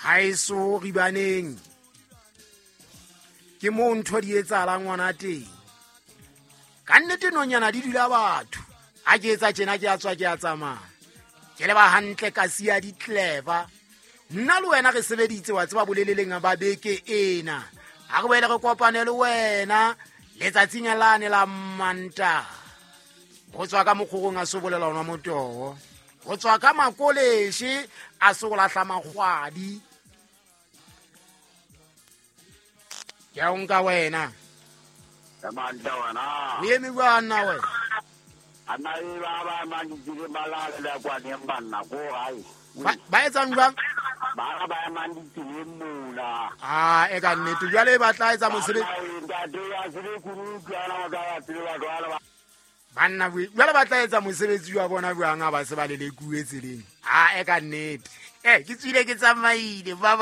Haeso ribaneng ke moo ntho di etsahalang ngwana teng. Ka nnete nonyana di dula batho. Ha ke etsa tjena ke a tswa ke a tsamaya. Ke leba hantle ka siya di clever. Nna le wena re sebeditse wa tseba boleleleng ba beke ena. Ha re boele re kopane le wena letsatsing lane la Mantaha. Go tswa ka mokgorong a sobolela ona motoho. Go tswa ka makoleshe a se go lahla magwadi. Ke a o nka wena. Mantle wena. O eme bjang nna wena? Anna e ba ba mang ditseleng ba lale le kwaneng banna ko gae. Ba etsang jwang? Ba ba emang ditseleng mona. Ah, e ka nnete. Jwale ba tla etsa mosebetsi. Ntate ya tsebe kunutu ana o ka ba tsebe batho ba ba. Banna jwale ba tla etsa mosebetsi wa bona jwang ha ba se ba lelekuwe tseleng? Ah, e ka nnete. Ke tswile ke tsamaile. Ba ba.